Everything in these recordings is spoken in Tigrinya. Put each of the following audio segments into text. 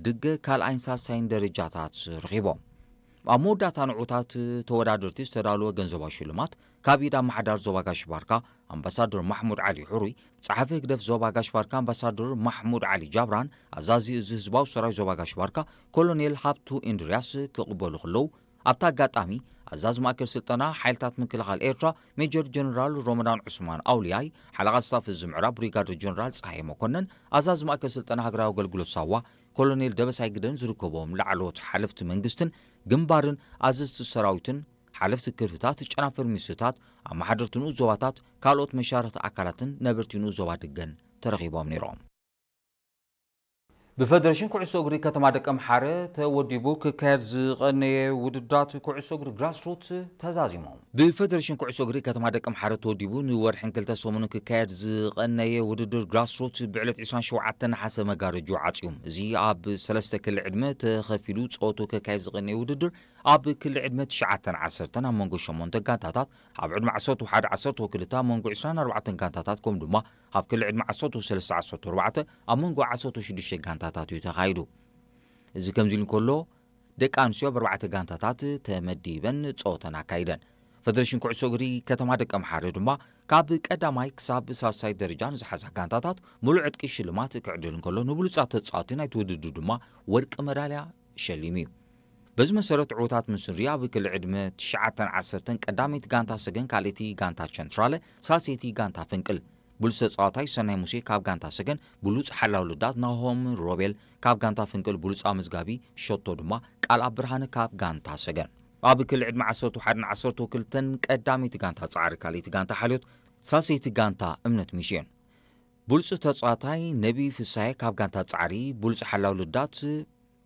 ድገ ካልኣይን ሳልሳይን ደረጃታት ረኺቦም። ኣብ መወዳእታ ንዑታት ተወዳደርቲ ዝተዳለወ ገንዘባዊ ሽልማት ካብ ኢድ ኣመሓዳሪ ዞባ ጋሽ ባርካ ኣምባሳደር ማሕሙድ ዓሊ ሕሩይ፣ ጸሓፊ ህግደፍ ዞባ ጋሽ ባርካ ኣምባሳደር ማሕሙድ ዓሊ ጃብራን ኣዛዚ እዚ ህዝባዊ ሰራዊት ዞባ ጋሽ ባርካ ኮሎኔል ሃብቱ ኢንድርያስ ክቕበሉ ከለዉ፣ ኣብቲ ኣጋጣሚ ኣዛዚ ማእከል ስልጠና ሓይልታት ምክልኻል ኤርትራ ሜጀር ጀነራል ሮመዳን ዑስማን ኣውልያይ፣ ሓለቓ ስታፍ እዚ ምዕራብ ብሪጋደር ጀነራል ጸሃየ መኮነን፣ ኣዛዚ ማእከል ስልጠና ሃገራዊ ኣገልግሎት ሳዋ ኮሎኔል ደበሳይ ግደን ዝርከቦም ላዕለዎት ሓለፍቲ መንግስትን ግንባርን ኣዘዝቲ ሰራዊትን ሓለፍቲ ክፍልታት ጨናፍር ሚኒስትርታት ኣመሓደርቲ ንኡስ ዞባታት ካልኦት መሻርኽቲ ኣካላትን ነበርቲ ንኡስ ዞባ ድገን ተረኺቦም ነይሮም። ብፈደሬሽን ኩዕሶ እግሪ ከተማ ደቀምሓረ ተወዲቡ ክካየድ ዝቐነየ ውድድራት ኩዕሶ እግሪ ግራስሩት ተዛዚሞም። ብፈደሬሽን ኩዕሶ እግሪ ከተማ ደቀምሓረ ተወዲቡ ንወርሕን ክልተ ሰሙንን ክካየድ ዝቐነየ ውድድር ግራስሩት ብዕለት ዕስራን ሸውዓተን ነሓሰ መጋረጆ ዓጽዩ። እዚ ኣብ ሰለስተ ክሊ ዕድመ ተኸፊሉ ጸወቱ ክካየድ ዝቐነየ ውድድር ኣብ ክሊ ዕድመ ትሽዓተን ዓሰርተን ኣብ መንጎ ሸሞንተ ጋንታታት፣ ኣብ ዕድመ ዓሰርተ ሓደ ዓሰርተ ክልተ ኣብ መንጎ ዕስራን ኣርባዕተን ጋንታታት፣ ከምኡ ድማ ኣብ ክሊ ዕድመ ዓሰርተ ሰለስተ ዓሰርተ ኣርባዕተ ኣብ መንጎ ዓሰርተ ሽዱሽተ ጋንታታት እዩ ተኻይዱ። እዚ ከምዚ ኢሉ እንከሎ፣ ደቂ ኣንስትዮ ኣብ ኣርባዕተ ጋንታታት ተመዲበን ጸወተን ኣካይደን። ፈደሬሽን ኩዕሶ እግሪ ከተማ ደቀምሓረ ድማ ካብ ቀዳማይ ክሳብ ሳልሳይ ደረጃ ንዝሓዛ ጋንታታት ሙሉእ ዕጥቂ ሽልማት ክዕድል እንከሎ፣ ንብሉጻት ተጻወቲ ናይቲ ውድድር ድማ ወርቂ መዳልያ ሸሊሙ እዩ። በዚ መሰረት ዕዉታት ምስ ንርኢ፣ ኣብ ክሊ ዕድመ ትሽዓተን ዓሰርተን ቀዳመይቲ ጋንታ ሰገን፣ ካልኣይቲ ጋንታ ቸንትራለ፣ ሳልሰይቲ ጋንታ ፍንቅል። ብሉጽ ተጻዋታይ ሰናይ ሙሴ ካብ ጋንታ ሰገን፣ ብሉጽ ሓላው ልዳት ናሆም ሮቤል ካብ ጋንታ ፍንቅል፣ ብሉጽ ኣመዝጋቢ ሸቶ ድማ ቃልኣብ ብርሃነ ካብ ጋንታ ሰገን። ኣብ ክሊ ዕድመ ዓሰርተ ሓደን ዓሰርተ ክልተን ቀዳመይቲ ጋንታ ጻዕሪ፣ ካልኣይቲ ጋንታ ሓልዮት፣ ሳልሰይቲ ጋንታ እምነት ሚስዮን። ብሉጽ ተጻዋታይ ነቢ ፍሳሐ ካብ ጋንታ ጻዕሪ፣ ብሉጽ ሓላው ልዳት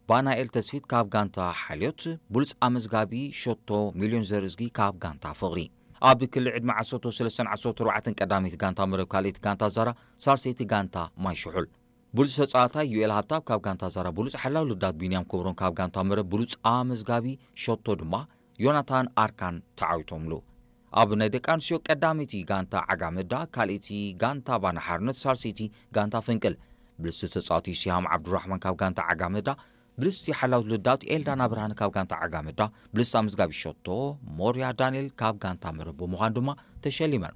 ባናኤል ተስፊት ካብ ጋንታ ሓልዮት፣ ብሉጽ ኣመዝጋቢ ሸቶ ሚልዮን ዘርእዝጊ ካብ ጋንታ ፍቕሪ። ኣብ ክሊ ዕድመ ዓሰርተ ሰለስተን ዓሰርተ ኣርባዕተን ቀዳመይቲ ጋንታ መረብ፣ ካልኣይቲ ጋንታ ዛራ፣ ሳልሰይቲ ጋንታ ማይ ሽሑል። ብሉጽ ተጻዋታይ ዩኤል ሃብታብ ካብ ጋንታ ዛራ፣ ብሉጽ ሓላው ልዳት ቢንያም ክብሮም ካብ ጋንታ መረብ፣ ብሉጽ ኣመዝጋቢ ሸቶ ድማ ዮናታን ኣርካን ተዓዊቶምሉ። ኣብ ናይ ደቂ ኣንስትዮ ቀዳመይቲ ጋንታ ዓጋመዳ፣ ካልኣይቲ ጋንታ ባና ሓርነት፣ ሳልሰይቲ ጋንታ ፍንቅል። ብልስቲ ተጻዋቲ ሲሃም ዓብዱራሕማን ካብ ጋንታ ዓጋመዳ፣ ብልስቲ ሓላው ልዳት ኤልዳና ብርሃን ካብ ጋንታ ዓጋመዳ፣ ብልስቲ ኣመዝጋቢ ሸቶ ሞርያ ዳንኤል ካብ ጋንታ መረብ ብምዃን ድማ ተሸሊመን።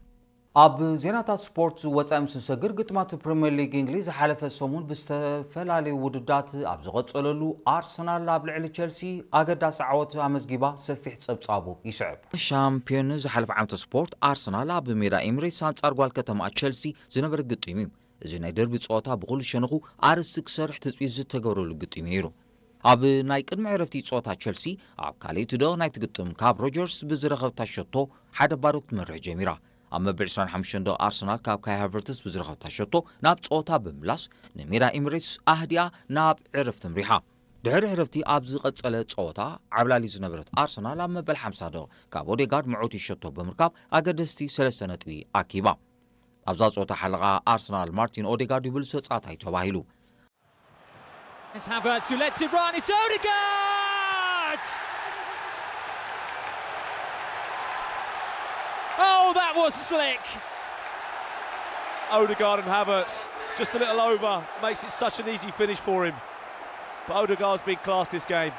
ኣብ ዜናታት ስፖርት ወጻኢ ምስ ንሰግር፣ ግጥማት ፕሪምየር ሊግ እንግሊዝ ዝሓለፈ ሰሙን ብዝተፈላለዩ ውድዳት ኣብ ዝቐጸለሉ፣ ኣርሰናል ኣብ ልዕሊ ቸልሲ ኣገዳሲ ዓወት ኣመዝጊባ ሰፊሕ ጸብጻቡ ይስዕብ። ሻምፒዮን ዝሓለፈ ዓመተ ስፖርት ኣርሰናል ኣብ ሜዳ ኤሚሬትስ ኣንጻር ጓል ከተማ ቸልሲ ዝነበረ ግጥም እዩ። እዚ ናይ ደርቢ ጸወታ ብኹሉ ሸነኹ ኣርእስቲ ክሰርሕ ትጽቢት ዝተገብረሉ ግጥም እዩ ነይሩ። ኣብ ናይ ቅድሚ ዕረፍቲ ጸወታ ቸልሲ ኣብ ካልኣይቲ ደቕ ናይቲ ግጥም ካብ ሮጀርስ ብዝረኸብታ ሸቶ ሓደ ባዶ ክትመርሕ ጀሚራ። ኣብ መበል ዕስራን ሓሙሽተን ደቕ ኣርሰናል ካብ ካይ ሃቨርትስ ብዝረኸብታ ሸቶ ናብ ጸወታ ብምምላስ ንሜዳ ኤሚሬትስ ኣህዲኣ ናብ ዕረፍቲ ምሪሓ። ድሕሪ ዕረፍቲ ኣብ ዝቐጸለ ጸወታ ዓብላሊ ዝነበረት ኣርሰናል ኣብ መበል ሓምሳ ደቕ ካብ ኦዴጋርድ መዕወቲ ሸቶ ብምርካብ ኣገደስቲ ሰለስተ ነጥቢ ኣኪባ። ኣብዛ ጸወታ ሓለቓ ኣርሰናል ማርቲን ኦዴጋርድ እዩ ብሉጽ ተጻዋታይ ተባሂሉ። It's Havertz who lets it run. It's Odegaard! Oh, that was slick. Odegaard and Havertz, just a little over, makes it such an easy finish for him. But Odegaard's been class this game.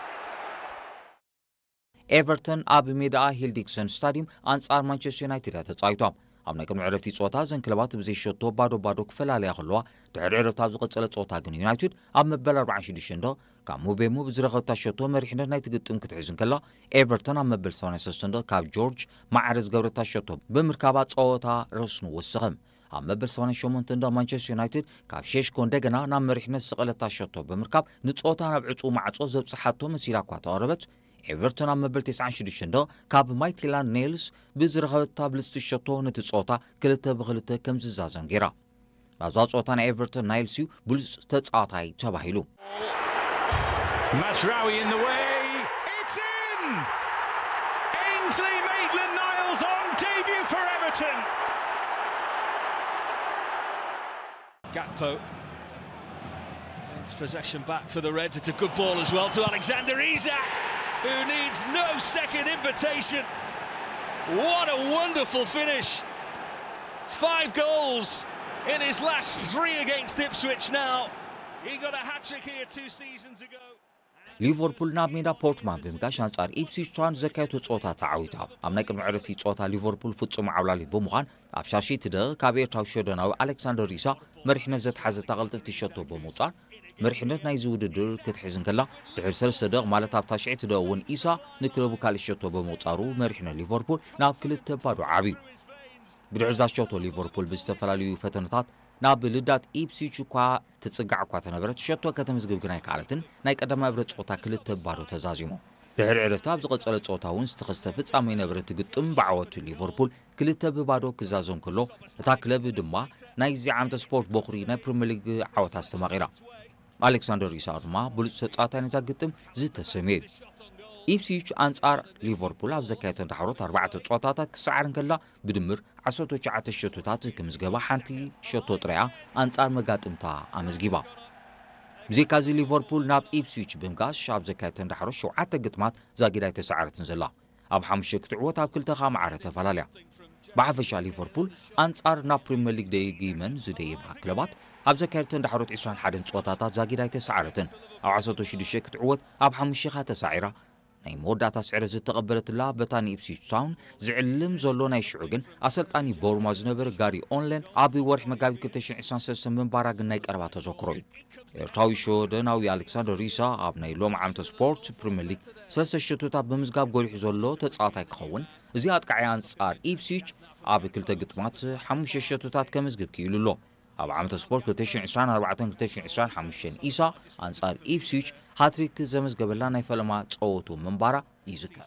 ኤቨርተን ኣብ ሜዳኣ ሂል ዲክሰን ስታዲየም ኣንጻር ማንቸስተር ዩናይትድ እያ ተጻዊታ። ኣብ ናይ ቅድሚ ዕረፍቲ ጸወታ እዘን ክለባት ብዘይ ሸቶ ባዶ ባዶ ክፈላለያ ከለዋ፣ ድሕሪ ዕረፍቲ ኣብ ዝቐጸለ ጸወታ ግን ዩናይትድ ኣብ መበል ኣርባዓን ሽዱሽተን ደቕ ካብ ሙቤሞ ብዝረኸብታ ሸቶ መሪሕነት ናይቲ ግጥም ክትሕዝ እንከላ፣ ኤቨርተን ኣብ መበል ሰማንያን ሰለስተን ደቕ ካብ ጆርጅ ማዕረ ዝገብረታ ሸቶ ብምርካባ ጸወታ ረስኑ ወሰኸ። ኣብ መበል ሰማንያን ሸሞንተን ደቕ ማንቸስተር ዩናይትድ ካብ ሼሽኮ እንደገና ናብ መሪሕነት ዝሰቐለታ ሸቶ ብምርካብ ንጸወታ ናብ ዕጹው ማዕጾ ዘብጽሓቶ መሲላ እኳ ተቐረበት፣ ኤቨርተን ኣብ መበል ተስዓን ሽዱሽተን ደቕ ካብ ማይቲላንድ ኔልስ ብዝረኸበታ ብልጽቲ ሸቶ ነቲ ጸወታ ክልተ ብክልተ ከም ዝዛዘም ገይራ። ኣብዛ ጸወታ ናይ ኤቨርተን ናይልስ እዩ ብሉጽ ተጻዋታይ ተባሂሉ። Mazraoui in the way. It's in! Ainsley Maitland Niles on debut for Everton. Gakpo. It's possession back for the Reds. It's a good ball as well to Alexander Isak, who needs no second invitation. What a wonderful finish. Five goals in his last three against Ipswich now. He got a hat trick here two seasons ago. ሊቨርፑል ናብ ሜዳ ፖርትማን ብምጋሽ ኣንጻር ኢፕስዊች ታውን ዘካየቶ ጸወታ ተዓዊታ። ኣብ ናይ ቅድሚ ዕረፍቲ ጸወታ ሊቨርፑል ፍጹም ዓብላሊ ብምዃን ኣብ ሻሽይቲ ደቂቕ ካብ ኤርትራዊ ሸወደናዊ ኣሌክሳንደር ኢሳ መሪሕነት ዘትሓዘታ ቅልጥፍቲ ሸቶ ብምውጻር መሪሕነት ናይዚ ውድድር ክትሕዝ እንከላ፣ ድሕሪ ሰለስተ ደቂቕ ማለት ኣብ ታሽዐይቲ ደቂቕ እውን ኢሳ ንክለቡ ካልእ ሸቶ ብምውጻሩ መሪሕነት ሊቨርፑል ናብ ክልተ ባዶ ዓብዩ። ብድሕሪ እዛ ሸቶ ሊቨርፑል ብዝተፈላለዩ ፈተነታት ናብ ልዳት ኢፕስዊች እኳ ትጽጋዕ እኳ ተነበረት፣ ሸቶ ከተምዝግብ ግን ኣይከኣለትን። ናይ ቀዳማይ እብረ ጸወታ ክልተ ብባዶ ተዛዚሙ። ድሕሪ ዕረፍቲ ኣብ ዝቐጸለ ጸወታ እውን ዝተኸስተ ፍጻመ ይነበረ እቲ ግጥም ብዓወቱ ሊቨርፑል ክልተ ብባዶ ክዛዘም ከሎ፣ እታ ክለብ ድማ ናይዚ ዓመተ ስፖርት በኹሪ ናይ ፕሪምየር ሊግ ዓወታ ኣስተማቒራ። ኣሌክሳንደር ኢሳቅ ድማ ብሉጽ ተጻዋታይ ናይዛ ግጥም ዝተሰምየ እዩ። ኢፕስዊች ኣንጻር ሊቨርፑል ኣብ ዘካየተን ዳሕሮት ኣርባዕተ ጸወታታት ክሰዓር እንከላ ብድምር ዓሰርተ ትሽዓተ ሸቶታት ክምዝገባ ሓንቲ ሸቶ ጥራያ ኣንጻር መጋጥምታ ኣመዝጊባ። ብዘይካዚ ሊቨርፑል ናብ ኢፕስዊች ብምጋሽ ኣብ ዘካየተን ዳሕሮት ሸውዓተ ግጥማት ዛጊድ ኣይተሰዓረትን ዘላ። ኣብ ሓሙሽተ ክትዕወት ኣብ ክልተ ከኣ ማዕረ ተፈላለያ። ብሓፈሻ ሊቨርፑል ኣንጻር ናብ ፕሪምየር ሊግ ደጊመን ዝደየባ ክለባት ኣብ ዘካየደተን ዳሕሮት ዕስራን ሓደን ጸወታታት ዛጊድ ኣይተሰዓረትን። ኣብ ዓሰርተ ሽዱሽተ ክትዕወት ኣብ ሓሙሽተ ከኣ ተሳዒራ። ናይ መወዳእታ ስዕረት ዝተቐበለትላ በታ ንኢፕስዊች ታውን ዝዕልም ዘሎ ናይ ሽዑ ግን ኣሰልጣኒ ቦርማ ዝነበረ ጋሪ ኦንለን ኣብ ወርሒ መጋቢት ክልተ ሽሕን ዕስራን ሰለስተን ምንባራ ግን ናይ ቀረባ ተዘክሮ እዩ። ኤርትራዊ ሽወደናዊ ኣሌክሳንደር ኢሳ ኣብ ናይ ሎም ዓመተ ስፖርት ፕሪምየር ሊግ ሰለስተ ሸቶታት ብምዝጋብ ጎሊሑ ዘሎ ተጻዋታይ ክኸውን፣ እዚ ኣጥቃዓይ ኣንጻር ኢፕስዊች ኣብ ክልተ ግጥማት ሓሙሽተ ሸቶታት ከምዝግብ ክኢሉ ኣሎ። ኣብ ዓመተ ስፖርት ክልተ ሽሕን ዕስራን ኣርባዕተን ክልተ ሽሕን ዕስራን ሓሙሽተን ኢሳ ኣንጻር ኢፕስዊች ሃትሪክ ዘመዝገበላ ናይ ፈለማ ጸወቱ ምንባራ ይዝከር።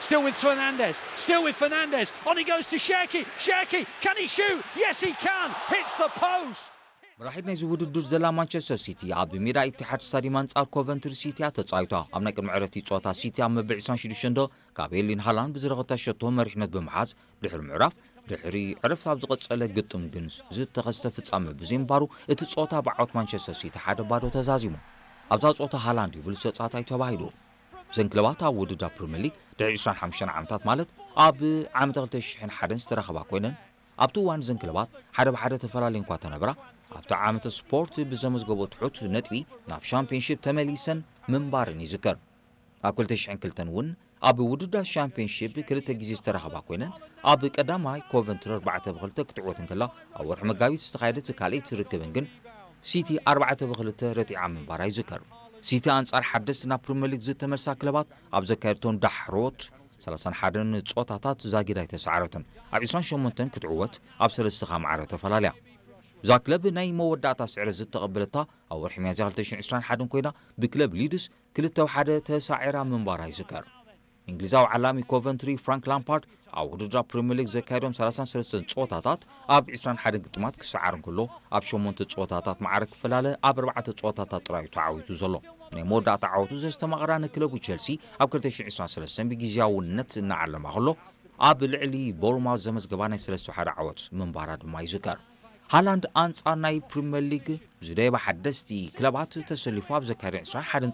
Still with Fernandez. Still with Fernandez. On he goes to Cherki. Cherki, can he shoot? Yes, he can. Hits the post. መራሒት ናይዚ ውድድር ዘላ ማንቸስተር ሲቲ ኣብ ሜዳ ኢትሓድ ስታዲየም ኣንጻር ኮቨንትሪ ሲቲ እያ ተጻዊታ። ኣብ ናይ ቅድሚ ዕረፍቲ ጸወታ ሲቲ ኣብ መበል ዕስራን ሽዱሽተን ካብ ኤርሊንግ ሃላንድ ብዝረኸታ ሸቶ መሪሕነት ብምሓዝ ድሕሪ ምዕራፍ፣ ድሕሪ ዕረፍቲ ኣብ ዝቐጸለ ግጥም ግን ዝተኸስተ ፍጻመ ብዘይምንባሩ እቲ ጸወታ ብዓወት ማንቸስተር ሲቲ ሓደ ባዶ ተዛዚሙ። ኣብዛ ጸወታ ሃላንድ እዩ ብሉጽ ተጻዋታይ ተባሂሉ። እዘን ክለባት ኣብ ውድድር ፕሪምየር ሊግ ድሕሪ ዕስራን ሓሙሽተን ዓመታት ማለት ኣብ ዓመተ ክልተ ሽሕን ሓደን ዝተራኸባ ኮይነን ኣብቲ እዋን እዘን ክለባት ሓደ ብሓደ ተፈላለየን እኳ ተነብራ ኣብቲ ዓመተ ስፖርት ብዘመዝገቦ ትሑት ነጥቢ ናብ ሻምፒዮንሺፕ ተመሊሰን ምንባረን ይዝከር። ኣብ ክልተ ሽሕን ክልተን እውን ኣብ ውድድራት ሻምፒዮንሺፕ ክልተ ግዜ ዝተራኸባ ኮይነን ኣብ ቀዳማይ ኮቨንትሪ ኣርባዕተ ብክልተ ክትዕወት እንከላ ኣብ ወርሒ መጋቢት ዝተኻየደት ካልኣይቲ ርክብን ግን ሲቲ ኣርባዕተ ብክልተ ረቲዓ ምንባራ ይዝከር። ሲቲ ኣንጻር ሓደስቲ ናብ ፕሪምየር ሊግ ዝተመልሳ ክለባት ኣብ ዘካየደቶም ዳሕሮት ሰላሳን ሓደን ጸወታታት ዛጊድ ኣይተሰዓረትን። ኣብ ዕስራን ሸሞንተን ክትዕወት ኣብ ሰለስተ ከኣ ማዕረ ተፈላለያ። እዛ ክለብ ናይ መወዳእታ ስዕረት ዝተቐበለታ ኣብ ወርሒ ሚያዝያ ክልተ ሽሕን ዕስራን ሓደን ኮይና ብክለብ ሊድስ ክልተ ብ ሓደ ተሳዒራ ምንባራ ይዝከር። እንግሊዛዊ ዓላሚ ኮቨንትሪ ፍራንክ ላምፓርድ ኣብ ውድድር ፕሪምየር ሊግ ዘካየዶም ሰላሳን ሰለስተን ጸወታታት ኣብ ዕስራን ሓደን ግጥማት ክሰዓር እንከሎ ኣብ ሸሞንተ ጸወታታት ማዕረ ክፈላለ ኣብ ኣርባዕተ ጸወታታት ጥራይ እዩ ተዓዊቱ ዘሎ። ናይ መወዳእታ ዓወቱ ዘስተማቕራ ንክለቡ ቸልሲ ኣብ ክልተ ሽሕን ዕስራን ሰለስተን ብግዝያውነት እናዓለማ ከሎ ኣብ ልዕሊ ቦርማውዝ ዘመዝገባ ናይ ሰለስተ ሓደ ዓወት ምንባራ ድማ ይዝከር። ሃላንድ ኣንጻር ናይ ፕሪምየር ሊግ ዝደየባ ሓደስቲ ክለባት ተሰሊፉ ኣብ ዘካየደ ዕስራን ሓደን